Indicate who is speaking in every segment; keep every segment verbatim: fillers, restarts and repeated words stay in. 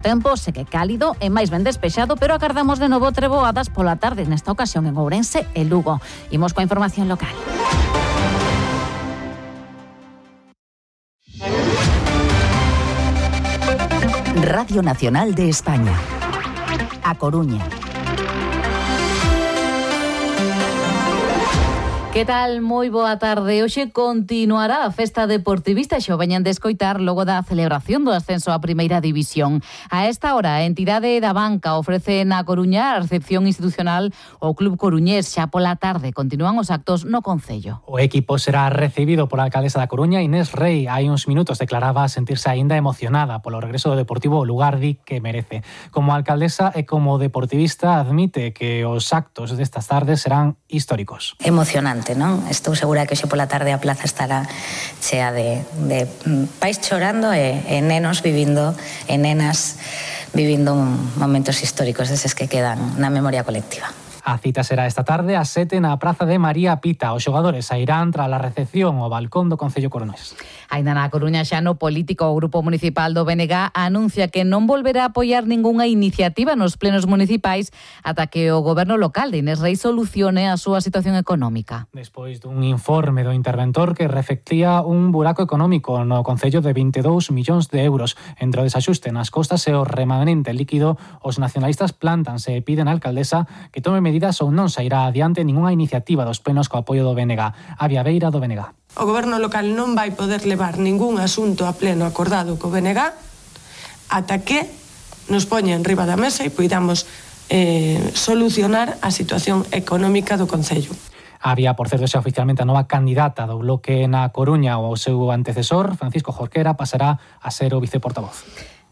Speaker 1: Tempo segue cálido e máis ben despexado, pero acardamos de novo treboadas pola tarde, nesta ocasión en Ourense e Lugo. Imos coa información local.
Speaker 2: Radio Nacional de España. A Coruña.
Speaker 1: Que tal? Moi boa tarde. Hoxe continuará a festa deportivista, xo veñan de escoitar logo da celebración do ascenso á Primeira División. A esta hora, a entidade da banca ofrece na Coruña a recepción institucional ao Club Coruñés. Xa pola tarde continúan os actos no concello.
Speaker 3: O equipo será recibido pola alcaldesa da Coruña, Inés Rei. Hai uns minutos declaraba sentirse aínda emocionada polo regreso do Deportivo ao lugar di que merece. Como alcaldesa e como deportivista admite que os actos destas tardes serán históricos.
Speaker 4: Emocionante, non? Estou segura que hoxe pola tarde a plaza estará chea de, de pais chorando e, e nenos vivindo, e nenas vivindo momentos históricos deses que quedan na memoria colectiva.
Speaker 3: A cita será esta tarde ás sete na Praza de María Pita. Os xogadores sairán tras a recepción ao balcón do Concello Coruñés.
Speaker 1: Ainda na Coruña xa no político, o Grupo Municipal do B N G anuncia que non volverá a apoiar ningunha iniciativa nos plenos municipais ata que o goberno local de Inés Rei solucione a súa situación económica.
Speaker 3: Despois dun informe do interventor que reflectía un buraco económico no Concello de vinte e dous millóns de euros. Entre o desaxuste nas costas e o remanente líquido, os nacionalistas plántanse e piden á alcaldesa que tome medidas ou non sairá adiante ningunha iniciativa dos plenos co apoio do B N G. A Viaveira do B N G.
Speaker 5: O goberno local non vai poder levar ningún asunto a pleno acordado co B N G ata que nos poña en riba da mesa e poidamos eh, solucionar a situación económica do Concello.
Speaker 3: Había, por certo, xa oficialmente a nova candidata do Bloque na Coruña. O seu antecesor, Francisco Jorquera, pasará a ser o viceportavoz.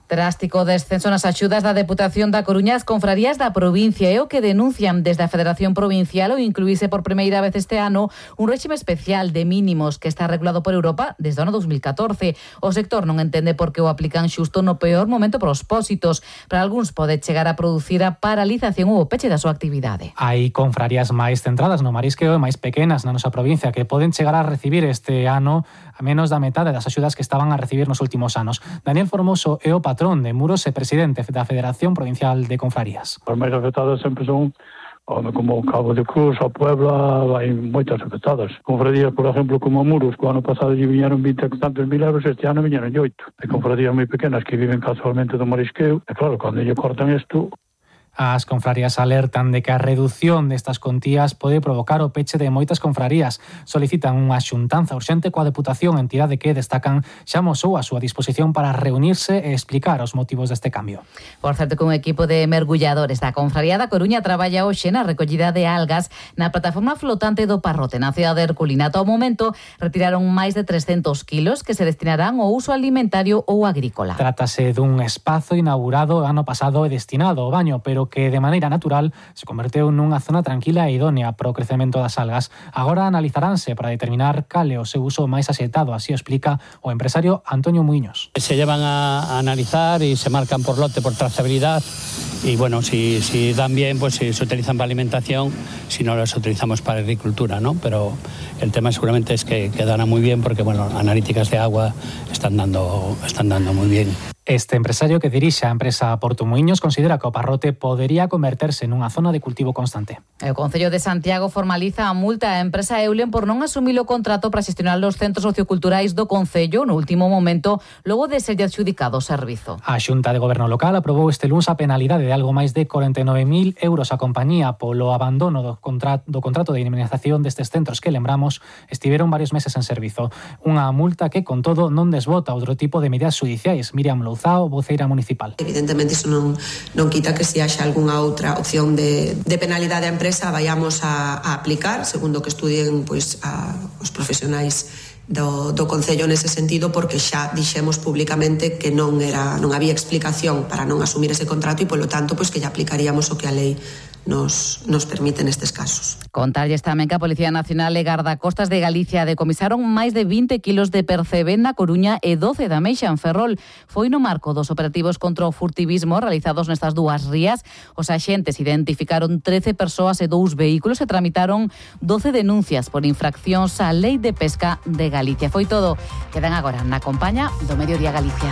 Speaker 1: Drástico descenso nas axudas da Deputación da Coruña, as confrarías da provincia é o que denuncian desde a Federación Provincial o incluíse por primeira vez este ano un réxime especial de mínimos que está regulado por Europa desde o ano dos mil catorce. O sector non entende por que o aplican xusto no peor momento para os pósitos. Para algúns pode chegar a producir a paralización ou o peche da súa actividade.
Speaker 3: Hai confrarías máis centradas no marisqueo e máis pequenas na nosa provincia que poden chegar a recibir este ano a menos da metade das axudas que estaban a recibir nos últimos anos. Daniel Formoso é o patrón de Muros e presidente da Federación Provincial de Confrarías.
Speaker 6: Os máis afectados sempre son como Cabo de Cruz, a Puebla, hai moitas afectadas. Confradías, por exemplo, como Muros, que o ano pasado lle viñeron vinte e tantos mil euros, este ano viñeron oito. Hai confradías moi pequenas que viven casualmente do marisqueo, e claro, cando lle cortan isto...
Speaker 3: As confrarías alertan de que a reducción destas contías pode provocar o peche de moitas confrarías. Solicitan unha xuntanza urxente coa Deputación, entidade que destacan xa amosou a súa disposición para reunirse e explicar os motivos deste cambio.
Speaker 1: Por certo, que un equipo de mergulladores da Confraría da Coruña traballa hoxe na recollida de algas na plataforma flotante do Parrote, na cidade de Herculina. Ao momento, retiraron máis de trescentos kilos que se destinarán ao uso alimentario ou agrícola.
Speaker 3: Trátase dun espazo inaugurado ano pasado e destinado ao baño, pero que de maneira natural se converteu nunha zona tranquila e idónea para o crecemento das algas. Agora analizaránse para determinar cal é o seu uso máis axeitado, así o explica o empresario Antonio Muiños.
Speaker 7: Se llevan a, a analizar y se marcan por lote, por trazabilidad, y bueno, si, si dan bien, pues si se utilizan para alimentación, si no las utilizamos para agricultura, ¿no? Pero el tema seguramente es que quedará muy bien porque, bueno, analíticas de agua están dando, están dando muy bien.
Speaker 3: Este empresario que dirixe a empresa Porto Muiños considera que o Parrote podería converterse nunha zona de cultivo constante.
Speaker 1: O Concello de Santiago formaliza a multa á empresa Eulen por non asumir o contrato para xestionar os centros socioculturais do Concello no último momento, logo de ser adxudicado o servizo.
Speaker 3: A Xunta de Goberno Local aprobou este luns a penalidade de algo máis de corenta e nove mil euros a compañía polo abandono do contrato, do contrato de indemnización destes centros que, lembramos, estiveron varios meses en servizo. Unha multa que, con todo, non desbota outro tipo de medidas judiciais. Miriam Louzao, voceira municipal.
Speaker 8: Evidentemente, iso non, non quita que se haxa algunha outra opción de, de penalidade á empresa vayamos a, a aplicar, segundo que estudien pois, a, os profesionais do, do Concello nese sentido, porque xa dixemos públicamente que non era non había explicación para non asumir ese contrato e, polo tanto, pois que lle aplicaríamos o que a lei nos, nos permite nestes casos.
Speaker 1: Contarlles tamén que a Policía Nacional e Gardacostas de Galicia decomisaron máis de vinte kilos de percebe na Coruña e doce da Meixa en Ferrol. Foi no marco dos operativos contra o furtivismo realizados nestas dúas rías. Os axentes identificaron trece persoas e dous vehículos e tramitaron doce denuncias por infraccións á Lei de Pesca de Galicia. Foi todo. Quedan agora na compaña do Mediodía Galicia.